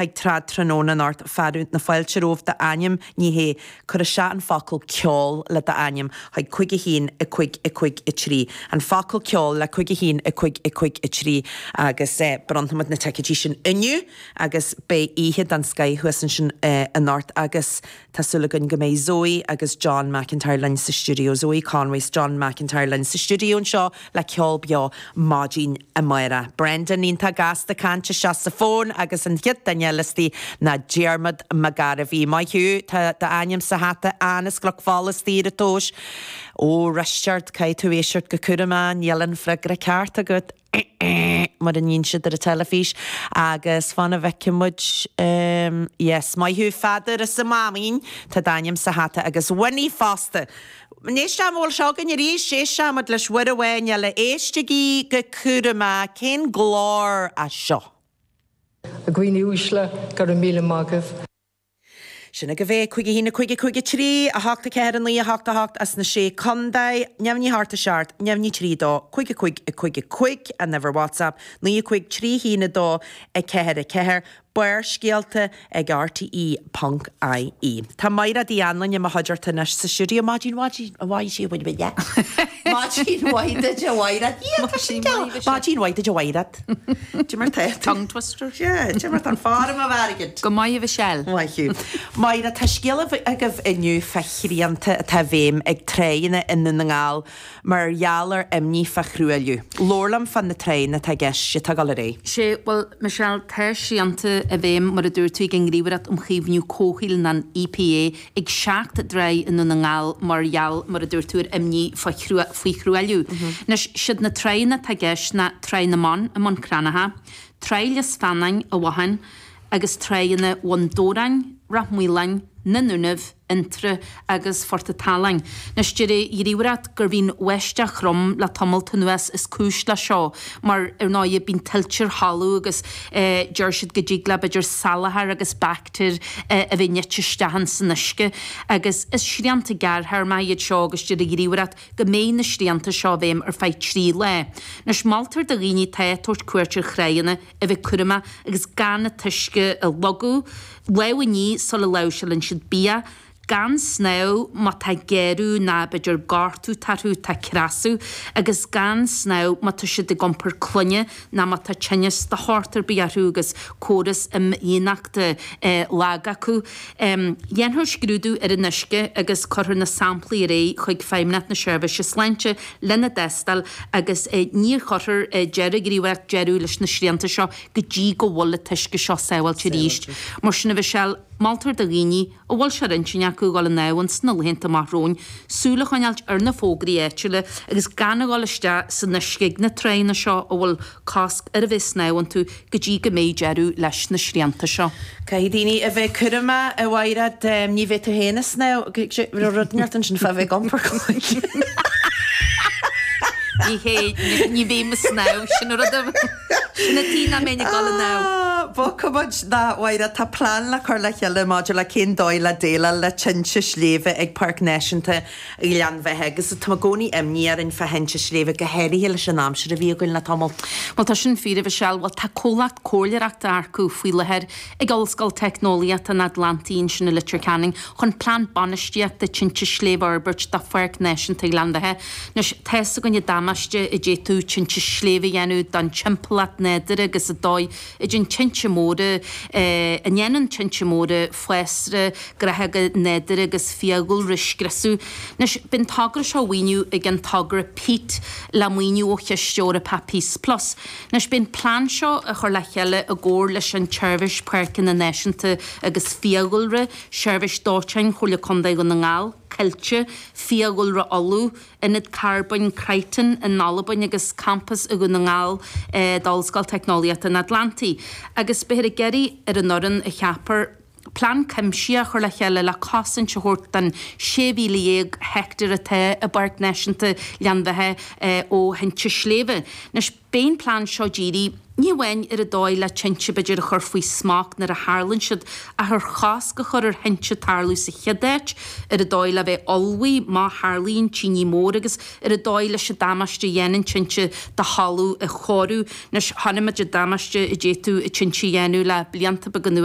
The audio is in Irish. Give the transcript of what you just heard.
Chuig Trad Tráthnóna anocht, fearadh na fáilte romhaibh, d'ainm, ní hé, cuir isteach an focal ceol le d'ainm chuig 5 1 5 5 3. An focal ceol le 5 1 5 5 3 agus bronnfaimid na ticéidí sin inniu agus beidh oíche den scoith thuas ansin anocht agus Tá súil againn go mbeidh Zoe agus John McIntyre linn sa stiúideo, Zoe Conway 's John McIntyre linn sa stiúideo anseo le ceol beo maidin amárach. Brendan iontach gasta caint isteach sa bhfón agus an chéad duine eile istigh ná Diarmuid Mac Gairbhí. Maith thú, tá d'ainm sa hata An as Cnoc Fola istigh ar an tomhais. Ó Risteard, caithfidh tú éisteacht go cúramach, níl an freagra ceart agat. mar a níonn siad ar an teilifís agus fan a bhfeicfidh muid yes maith thú Pheadair as an Máimín tá d'ainm sa hata agus Winnie fosta Éist an bhfuil seo againn arís éistfidh muid leis uair amháin eile éistigí go cúramach cén glór é seo? A dhaoine uaisle, go raibh míle maith agaibh. Sin agaibh é, 5 1 5 5 3, 8 4 9 8 8 as na Sé Contae, neamhní 8 7, neamhní 3 2, 5 5 5 5, an uimhir WhatsApp, 9 5 3 1 2 4 4, Barrscéalta ag rte ponc ie. Tá Maighread Uí Anluain i mo chuideachta anois sa stiúideo. Maidin mhaidin mhaith sé bhain mé. Maidin mhaith duit a Mhaighread. Yeah, tá sin geall. Maidin mhaith duit a Mhaighread. Cad é mar tá tú. Tongue twister. Yeah, cad é mar tá an form of airgead. Go maith a Mhichelle. Maith thú. Máire, tá scéal agaibh inniu fá shrianta atá i bhfeidhm ag tráigheanna i nDún na nGall mar gheall ar imní fá thruailliú. Labhair liom fá na tráigheanna atá i gceist, atá ag dul ar aghaidh. Sé, bhuel, Michelle, tá srianta i bhfeidhm, mar a dúirt tú, ag an nGníomhaireacht um Chaomhnú Comhshaoil, nó an EPA, ag 7 dtráigh i nDún na nGall mar gheall, mar a dúirt tú, ar imní faoi thruailliú. Anois, siad na tráigheanna atá i gceist ná Tráigh na mBan i mBun Cranncha, Tráigh Lios Feannáin i bhFotháin agus tráigheanna Bhun Dobhráin, Ráth Maoláin, na nDúnaibh, Fhionntrá agus Phort a' tSaláin. Anois, deir an Ghníomhaireacht gurbh í an bháisteach throm le tamalt anuas is cúis le seo mar, ar ndóighe, bíonn tuilte ar thalamh agus deir siad go dtig le, b'fhéidir, salachar agus baictéir a bheith nite isteach ins an uisce. Agus is srianta gearrthéarmacha iad seo agus deir an Ghníomhaireacht go mbeidh na srianta seo i bhfeidhm ar feadh 3 lá. Anois, moltar do dhaoine atá ag tabhairt cuairt ar thráigheanna a bheith cúramach agus gan an t-uisce a shlogadh, lámh a ní sula láimhseálann siad bia, gan snámh má tá géarú ná b'fhéidir gortú orthu atá cneasach, agus gan snámh má tá siad ag iompar clainne ná má tá tinneas de shórt ar bith orthu agus córas imdhíonachta lag acu. Dhéanfar scrúdú ar an uisce agus cuirfear na samplaí ar aghaidh chuig Feidhmeannacht na Seirbhíse Sláinte lena dtástáil agus ní chuirfear, deir an Ghníomhaireacht, deireadh leis na srianta seo go dtí go bhfuil an t-uisce seo sábháilte arís. Mar sin, a Mhichelle, moltar do dhaoine a bhfuil sé ar intinn acu a dhul ag snámh ins na laethanta amach romhainn súil a choinneáilt ar na fógraí áitiúla agus gan a dhul isteach san uisce ag na tráigheanna seo a bhfuil cosc ar a bheith ag snámh iontu go dtí go mbeidh deireadh leis na srianta seo. Caithfidh daoine a bheith cúramach, a Mhaighread. Ní bheidh tú féin ag snámh. Raibh rud inteacht ansin fá bheith ag iompar clainne. Ní hé, ní bheidh mé ag snámh, sin an rud a. Sin an tuige nach mbeinn ag dul ag snámh. Bogfaidh muid, a Mhaighread, tá plean le cur le chéile maidir le cén dóigh le déileáil le tinte sléibhe ag Páirc Náisiúnta Ghleann Bheatha agus tá i gcónaí imní orainn fá thinte sléibhe, go háirithe leis an aimsir a bhí againn le tamall. Bhuel, tá sin fíor, a Mhichelle. Bhuel, tá comhlacht comhairleoireachta á earcú faoi láthair ag Ollscoil Teicneolaíochta an Atlantaigh ansin i Leitir Ceanainn chun plean bainistíochta tinte sléibhe a fhorbairt do Pháirc Náisiúnta Ghleann Bheatha. Anois, tá fhios againn an damáiste a d'fhéadfadh tinte sléibhe a dhéanamh don timpeallacht nádúrtha agus an dóigh a dtéann tinte móra, a ndéanann tinte móra fásra, gnáthóga nádúrtha agus fiadhúlra a scriosadh. Anois, beidh an togra seo á mhaoiniú ag an togra peat le maoiniú ó Chiste Eorpach Peace Plus. Anois, beidh an plean seo á chur le chéile i gcomhar leis an tSeirbhís Páirceanna Náisiúnta agus Fiadhúlra, Seirbhís Dóiteáin Chomhairle Contae Dhún na nGall, Coillte, Fiadhúlra Uladh, Ionad Carbóin Crichton in Albain agus campas i Dhún na nGall d'Ollscoil Teicneolaíochta an Atlantaigh. Agus beifear ag iarraidh ar an fhoireann a cheapfar plean cuimsitheach a chur le chéile le cosaint a thabhairt don 16,000 heicteár atá i bPáirc Náisiúnta Ghleann Bheatha ó thinte sléibhe. Anois. Beidh an plean seo dírithe, ní amháin ar an dóigh le tinte b'fhéidir a chur faoi smacht nuair a tharlaíonn siad, ach ar chosc a chur ar thinte tarlú sa chéad áit, ar an dóigh le bheith ullmhaithe má tharlaíonn tine mhór agus ar an dóigh leis an damáiste a dhéanann tinte do thalamh a chóiriú. Anois, chonaic muid an damáiste a d'fhéadfadh tinte a dhéanamh le blianta beaga anuas.